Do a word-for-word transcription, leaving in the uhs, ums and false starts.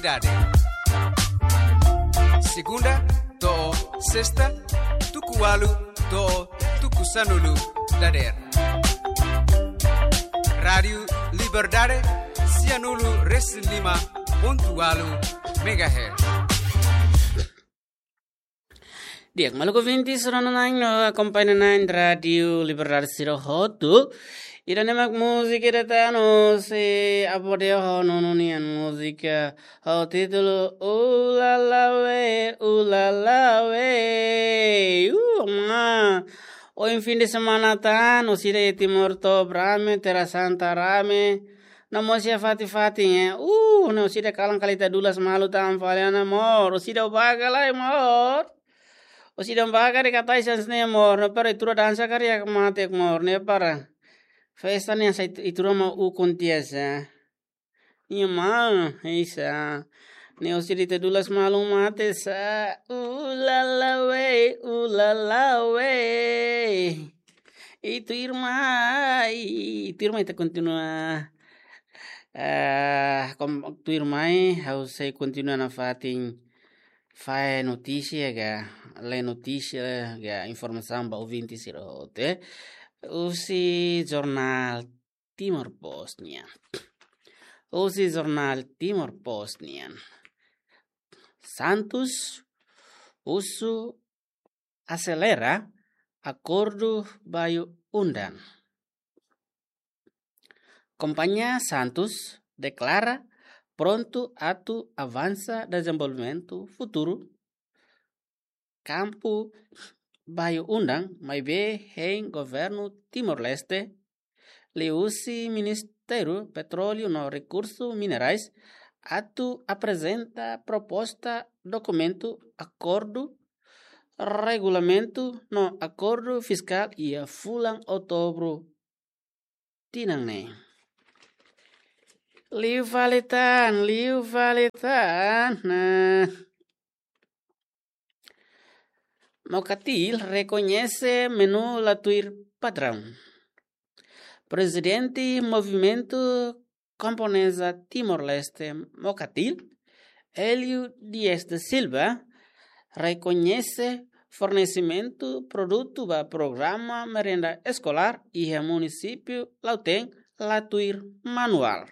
Liberdade. Segunda to'o sesta, tuku ualu to'o tuku sanulu dadeer. Rádiu Liberdade, sianulu resin lima pontu ualu megahertz. Di'ak, maluk ouvintes, rona-na'in no akompaña-na'in Rádiu Liberdade sira hotu. Ida-ne'e mak múzika ida tan, se aborde ho nonu nian múzika ho títulu Ulala We, Ulala We. Uh, ma. Ohin fin de semana tan, orsida iha Timor to'o rame, Terra Santa rame. No mós iha fatin-fatin, eh. Uh, ne'e orsida kalan kali ita dulas malu tan fali ona, amor. Orsida baga lai, amor. Orsida baga de katai sans ne'e, amor. No para itura dansa kari ak mate, amor. Ne'e para festa ne'e sai itura ma u kontiasa. Nia ma, isa. Ne'e orsida ita dulas malu mate sa. Ulala We, Ulala We. I tuirmai, i tuirmai ita kontinua. Ah, kom, tuirmai, ha'u sei kontinua nafatin fahe notísia ka, lee notísia ka, informasaun ba ouvinte sira hotu, eh. Husi jornál Timor Post nian. Husi jornál Timor Post nian. Santos husu aselera akordu bayu-undan. Kompañia Santos deklara prontu atu avansa dezenvolvimentu futuru kampu bayu-undan, maibé hein governu Timor-Leste liuhusi Ministériu Petróleu no Rekursu Minerais atu aprezenta proposta dokumentu akordu, regulamentu no akordu fiskál iha fulan Outubru tinan ne'e. Liu fali tan, liu fali tan. Nah. Mokatil rekoñese menu la tuir padraun. Prezidente Movimentu Kamponesa Timor-Leste, Mokatil, Hélio Dias da Silva, rekoñese fornesimentu produtu ba programa merenda eskolár iha munisípiu Lautém la tuir manuál.